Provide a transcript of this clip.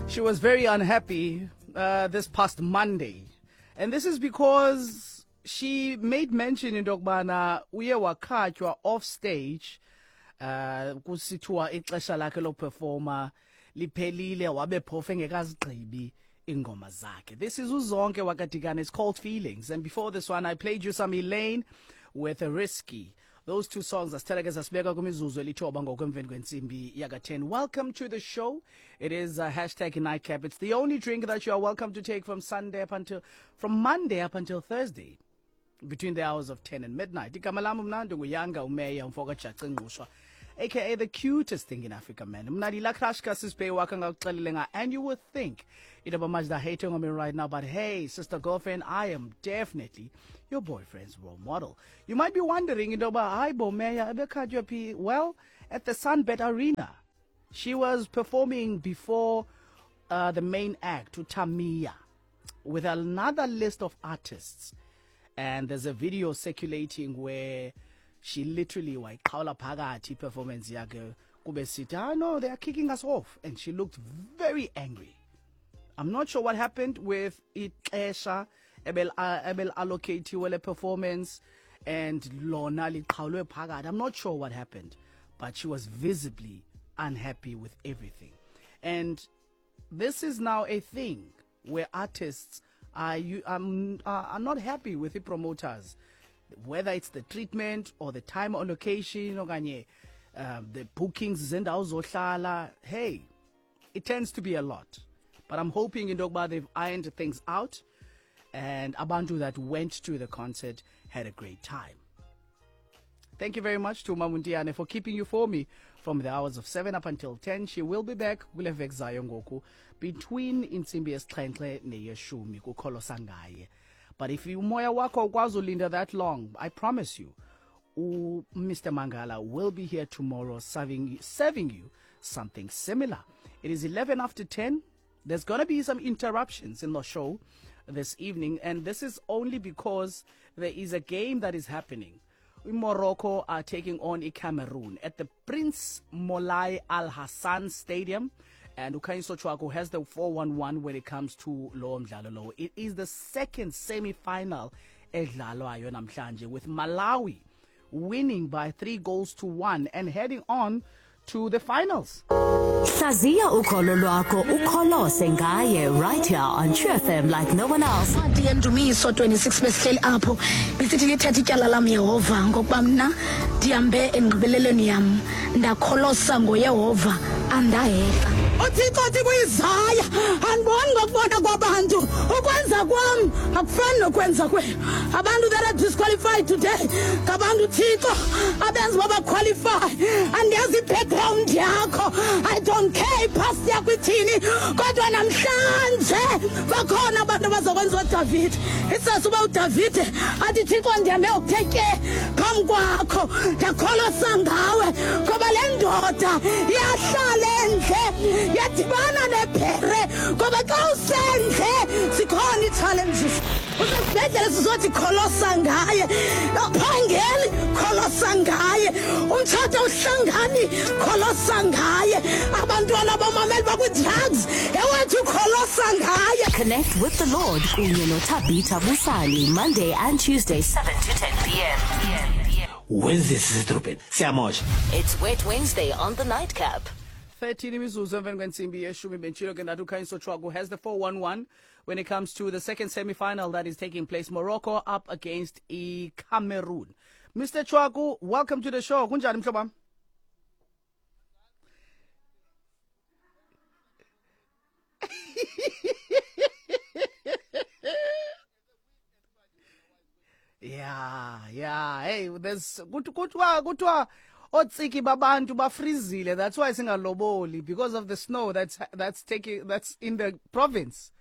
She was very unhappy this past Monday. And this is because she made mention into yokubana uye wakhatywa off stage kusithiwa ixesha lakhe lokuperforma liphelile, wabe phofu engekazigqibi ingoma zakhe. This is uZonke wakaDikana. It's called Feelings. And before this one, I played you some Elaine with a Risky. Those two songs asithela ke sasibeka kwimizuzu elithoba ngokwemveni kwentsimbi yaka-10. Welcome to the show. It is a hashtag nightcap. It's the only drink that you are welcome to take from Sunday up until, from Monday up until Thursday, between the hours of 10 and midnight. Igama lam mna ndinguYanga uMeya umfo kaJaci Ngqushwa, aka the cutest thing in Africa, man. Mna ndila crush kaSisbey wakhe ngakuxelele nga, and you would think into yoba manje they're hating on me right now, but hey, sister girlfriend, I am definitely your boyfriend's role model. You might be wondering into yoba hayi bo Meya ebekhatywa phi. Well, at the Sunbet Arena. She was performing before the main act, uTamia, with another list of artists. And there's a video circulating where she literally wayiqhawula phakathi performance yakhe, kube sithi, "Ah, no, they are kicking us off," and she looked very angry. I'm not sure what happened with ixesha ebel ebel allocatiwe le performance and lona liqhawulwe phakathi. I'm not sure what happened, but she was visibly unhappy with everything. And this is now a thing where artists are not happy with the promoters, whether it's the treatment or the time allocation okanye the bookings zendawo zohlala. Hey, it tends to be a lot, but I'm hoping into yokuba they've ironed things out and abantu that went to the concert had a great time. Thank you very much to Mamuntiane for keeping you for me from the hours of 7 up until 10. She will be back kule veki zayo ngoku between intsimbi yesixhenxe neyeshumi kukholosa ngaye. But if umoya wakho awukwazi ulinda that long, I promise you, Mr. Mangala will be here tomorrow serving you something similar. It is 11 after 10. There's going to be some interruptions in the show this evening, and this is only because there is a game that is happening. Morocco are taking on Cameroon at the Prince Moulay Al Hassan Stadium. And uKhanyiso Chwako has the 411 when it comes to lo mdlalo lo. It is the second semi-final edlalwayo namhlanje, with Malawi winning by 3 goals to 1 and heading on to the finals. Hlaziya ukholo lwakho ukholose ngaye right here on True FM like no one else. Incwadi yeNdumiso 26, besihleli apho bisithi, "Lithetha ityala lam, Yehova, ngokuba mna ndihambe engqibelelweni yam, ndakholosa ngoYehova, andahexa." UThixo uthi kuIsaya, "Andiboni ngokubona kwabantu, ukwenza kwam akufani nokwenza kwenu." Abantu that are disqualified today ngabantu uThixo abenza uba baqualify. Andiyazi i-background yakho, I don't care ipast yakho ithini, kodwa namhlanje bakhona abantu abazokwenza uDavide. Isase uba uDavide athi, "Thixo, ndihambe ngokuthe tye phambi kwakho, ndakholosa ngawe," ngoba le ndoda yahlala endle, yadibana nebhere, ngoba xa usendle zikhona ii-challenges. Usesibhedlele, sizothi kholosa ngaye. Awuphangeli, kholosa ngaye. Umtshato awuhlangani, kholosa ngaye. Abantwana bomameli bakwi-drugs, ewethu kholosa ngaye. Connect with the Lord kunye noThabitha Busani, Monday and Tuesday, 7 to 10 p.m. Wednesday sisedrobheni siyamosha. It's Wet Wednesday on the Nightcap. 13 imizuzu emveni kwentsimbi yeshumi. Bentshilo ke ndathi uKhanyiso Chwaku has the 411 when it comes to the second semi-final that is taking place, Morocco up against iCameroon. Mr Chwaku, welcome to the show. Kunjani, mhlobo wam? Yeah, hey, there's kuthiwa otsiki babantu bafrizile. That's why singaloboli, because of the snow that's taking, that's in the province.